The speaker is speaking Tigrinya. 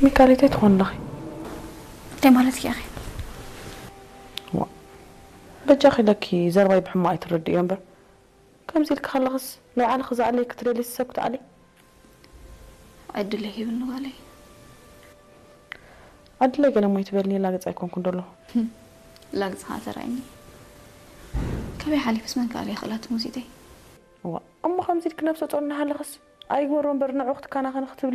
ሚካሪተይ ትኾን ኣለኺ? እንታይ ማለት እያ? ዋ፣ በጃኺ ኢለኪ ዘረባይ ብሕማቕ ኣይትረድእዮ እምበር፣ ከምዚ ኢልኪ ከለኽስ ናይ ባዕልኺ ዝኣለይ ክትደሊ ሰብ ክትኣሊ? ዕድል ሂብኒ ጓለይ። ዕድለይ ገለ እሞ ይትበልኒ፣ ላግጺ ኣይኮንኩን ደለኹ። ላግጺ ኸዓ ተራእየኒ። ካበይ ሓሊፍስ መን ክኣልያ ክእላ ትሙዚተይ? ዋ፣ እሞ ከምዚ ኢልኪ ነብሰ ጾር እናሃለኽስ ኣይግበሮ እምበር ንዑ ክትከናኸኒ ክትብሊ